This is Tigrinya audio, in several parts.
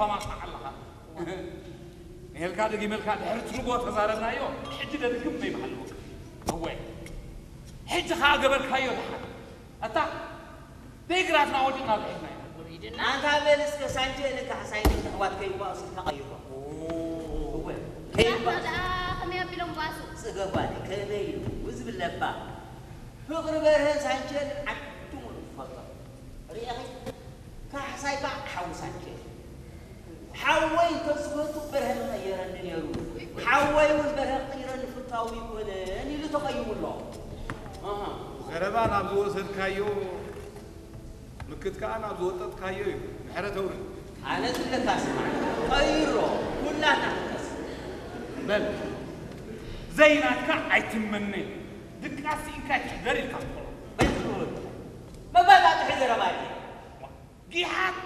ማማኻ ኣለኻ። ንሄልካ ደጊመልካ ድሕሪ ትርጎ ተዛረብናዮ፣ ሕጂ ደድግም ዘይበሃልዎ። እወ፣ ሕጂ ኸኣ ገበርካዮ ደሓን። ኣታ፣ ደይ ግራትና ወዲቕና ብሒዝና ኢና። ውሪድና። ኣንታ በል እስከ ሳንቼ ኢልካ ሓሳይ ኣሕዋት ከይባእሱ ኢልካ ቀይሮ። እወ፣ ከይባእሱ። ደኣ ከመይ ኣቢሎም ባእሱ? ጽገብ ጓለይ፣ ከመይ ኢሉ ዝብል ለባ። ፍቕሪ በርሀን ሳንቼን ዓዲ ሙሉእ ትፈልጦ። ርኢኺ? ካሕሳይ ከዓ ሓዊ ሳንቼ። ሓወይ እንተዝፈቱ በርሀ ምቐየረኒ ነይሩ። ሓወይ እውን በርሀ ክቕይረኒ ፍታዊ ኣይኮነን ኢሉ ተቐይሙ ኣሎ። ኣሃ። ዘረባ ናብ ዝወሰድካዮ ምክት ከዓ ናብ ዝወጠጥካዮ እዩ። ምሕረት ኣውርድ። ኣነ ዝብለካ ስማዕ፣ ቀይሮ፣ ኩላትና ክንቀስ። በል፣ ዘይናትካ ኣይትመነ። ድቃስ ስኢንካ ኣይትሕደር ኢልካ ትኾኖ። በይትኽብል። መባጣጥሒ ዘረባ ድየ? ጊሓት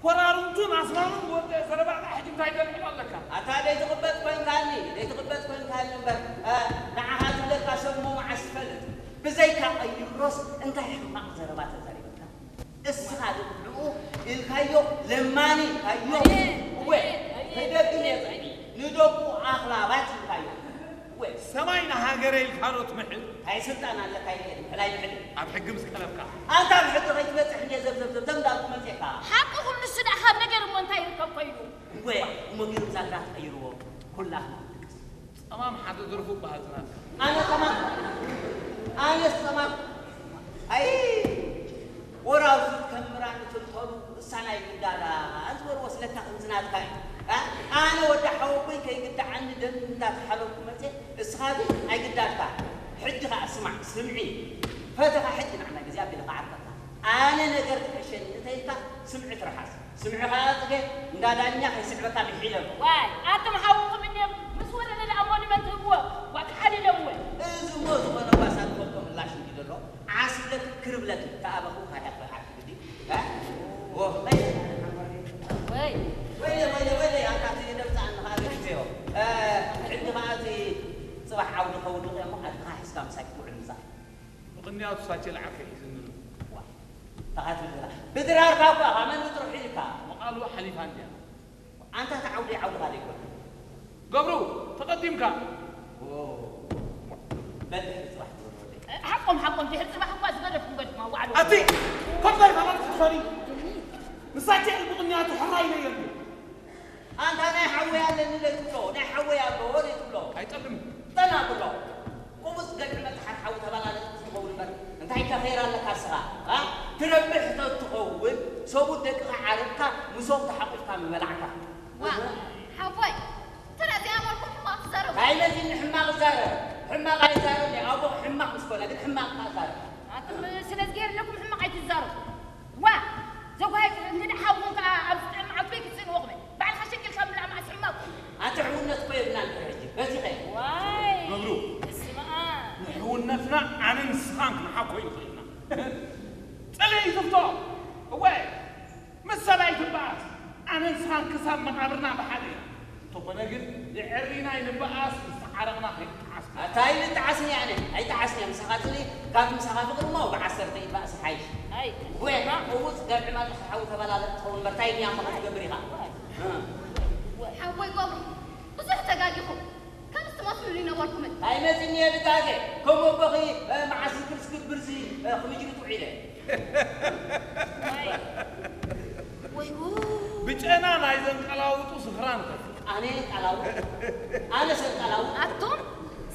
ኮራርምቱን ኣስማሙን ዝወደአ ዘረባኻ ሕጂ እንታይ ደልዕሎ ኣለካ? ኣታ ደይትቕበጽ ኮንካኒ፣ ደይትቕበጽ ኮንካኒ እምበር፣ እ፣ ንዓኻ ዝብለካ ሰብ እሞ መዓስ ትፈልጥ? ብዘይካ ቀይሮስ እንታይ ሕማቕ ዘረባ ተዛሪበካ? እስኻ ግን ንዕኡ ኢልካዮ ለማኒ ኢልካዮ። ኣየ፣ እወ፣ ኣየ፣ ኣየ፣ ከይደግም እየ ኣየ። ጽዕኒ። ንደቁ ኣኽላባት ኢልካዮ። እወ። ሰማይ ንሃገረ ኢልካ ዶ ትምሕል? እንታይ ስልጣን ኣለካ ኢለ ምሕል ኣይምሕልን። ኣብ ሕጊ ምስ ቀረብካ። ኣንታ ኣብ ሕጊ ከይትበጽሕ እንድየ ዘብዘብ ዘብዘብ እንዳልኩ መጺእካ። ሓቂ ኩሉ ንሱ ደኣ ካብ ነገር እሞ እንታይ ይርከብ ኮይኑ? እወ፣ እሞ ገይሩ ብዛ ግራት ቀይርዎ። ኩላትና ንልቅስ። ጸማም ሓደ ደርፉ በሃልቲ ናትካ። ኣነ ጸማም? ኣነስ ጸማም? ኣይ፣ ወራውዙት ከም ምራን ትልተሉ እሳ ናይ ግዳዳ ዝበልዎ ስለካ ከምዚ ናትካ እዩ። ኣ? ኣነ ወዲ ሓወቦይ ከይግዳዓኒ ደም እንዳተሓለልኩ መጽየ፣ እስኻ ግን ኣይግዳድካ። ሕጂ ኸኣ ስማዕ፣ ስምዒ። ፈተኻ ሕጂ ንዓና ግዜ ኣቢለ ክዓርከካ። ኣነ ነገር ትሕሸኒ እንተኢልካ ስምዒ ትርሓስ። ስምዒ ኸኣ ጽገ እንዳ ዳኛ ከይስዕበካ ምሒለሉ። ዋይ፣ ኣቶም ሓውኹም እንድዮም ምስ ወለለ ደኣ ሞኒመንት ህብዎ፣ ዋ ተሓሊሎም ወ። እዚ እሞ ዝኾነ ጓሳ ክፈልጦ ምላሽ እንዲ ዘሎ፣ ዓስብለኪ ክርብለኪ፣ ተኣበኹ ካርያ ክበልዓኪ ግዲ። እ? ወ፣ ወይ። ወይ። ወይለ፣ ወይለ፣ ወይለ፣ ኣታ እቲ ደምጻ እንኻ በኪተዮ። እ፣ ሕጂ ኸኣ እቲ ጽባሕ ዓውዲ ከውድቕ እሞ፣ ኣድኻ ሒዝካ ምሳይ ክትውዕል ምጻእ። ምኽንያቱ ሳቸ ለዓርከ ሒዝኒ ኣሎ። ዋ፣ ተኻትል ዘላ። ብድራርካ እኳ፣ ካብ መን ብጥሩ ሒዝካ? መቓልዋ ሓሊፋ እንድያ። ኣንታ እቲ ዓውዲ ዓውድኻ ዘይኮነ። ገብሩ፣ ተቐዲምካ። ኦ፣ በል ድሕሪ ጽባሕ ትበል ወደይ። ሓቆም፣ ሓቆም፣ ድሕሪ ጽባሕ እኳ ዝገደፍኩም ገድፍኩም ኣዋዕሉ። ኣቲ፣ ኮፍ በል፣ ካባን ትኽፈሊ። ንሳቸ ምኽንያቱ ሕራይ ለየሉ። ኣንታ ናይ ሓወይ ኣለኒ ለይትብሎ፣ ናይ ሓወይ ኣሎ ለይትብሎ። ኣይጠልም። ጠና ብሎ። ቁቡጽ ገልዒ መጽሓር ሓዊ ተባላለጥ ትኸውን እምበር፣ እንታይ ከ ኸይር ኣለካ እስኻ? ኣ? ትረብሕ ተትኸውን፣ ሰቡት ደቅኻ ዓርብካ፣ ምሶም ተሓቂፍካ ምበላዕካ። ዋ፣ ሓወይ፣ እንተ ደኣ ዘይኣመርኩም ሕማቕ ትዛረቡ። ኣይመጺኒ ሕማቕ እዛረብ። ሕማቕ ኣይዛረብን እየ። ኣቦ ሕማቕ ምስ ኮነ ግን ሕማቕ እካ እዛረብ። ኣቱም ስለ ዝገይርለኩም ሕማቕ ኣይትዛረቡ። ዋ! ዘጓየት እንግዲ ሓውኹም ከኣ ኣብ ዝጥዕም መዓልቲ ክትስእንዎ ክብል። ባዕልኻ ሸቂልካ ምብላዕ መዓስ ሕማቕ? ኣቲ ሕውነት እኮ የብልናን ድሕሪ ሕጂ። በዚኸ? ዋይ! ገብሩ። እስማ። ንሕውነትና ኣነ ንስኻን ክንሓኮ ይኽእልና። ጽልኢ ይፍቶ። እወ። ምስ ሰብኣይ ትበኣስ። ኣነ ንስኻን ክሳብ መቓብርና ብሓደ ኢና። እንተኾነ ግን፣ የዕሪና ይንበኣስ፣ ምስ ተዓረቕና ከይንጠዓስ። ኣታ ኣይንጠዓስን እየ ኣነ፣ ኣይጠዓስን እየ። ምሳኻ ጽልኢ፣ ካብ ምሳኻ ፍቕሪ እሞ ብዓሰርተ ኢድ ባእሲ ሓይሽ። ኣይ፣ ወይ፣ እማ። እውፅ፣ ገብዒ ማጥራሕ ሓዊ ተበላለ ትኸውን እምበር፣ ታይ እያ እሞ ክትገብር ኢኻ? ኣይ። እ። ሓወይ ገብሩ፣ ብዙሕ ተጋጊኹም። ከምዚ ትመስሉኒ ነበርኩምን? ኣይመፅን እየ ድጋገ። ከም ኣቦኺ፣ እ፣ መዓስ ዝክር ዝግብር ዚ፣ እ፣ ክምጅሪት ውዒለ። ወይ፣ ወይ ጉድ። ብጨና ናይ ዘንቀላውጡ ስኽራን ከ? ኣነ የንቀላውጥ? ኣነ ሰንቀላውጥ? ኣቱም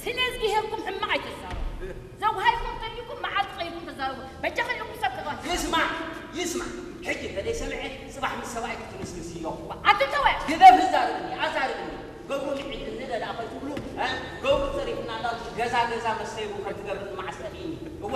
ስለ ዝግሄርኩም ሕማቕ ኣይትዛረቡ። ዘጉሃይኩም ተሊኩም መዓልቲ ቀይርኩም ተዛረቡ። በጃ ከለኩም ሰብ ተባሂ። ይስማዕ፣ ይስማዕ። ሕጂ እንተ ዘይሰምዐ፣ ጽባሕ ምስ ሰብኣይ ክትምስምስ እዮ። ኣቱም ተወ። ግደፍ፣ ዛርብኒ፣ ኣዛርብኒ። ገብሩ ንዒድኒ ደላ ከይትብሉ፣ እ? ገብሩ ጸሪፍና እንዳልኩ ገዛ ገዛ መስተይቡ ከም ትገብር መዓስ ጠፊእኒ። እወ።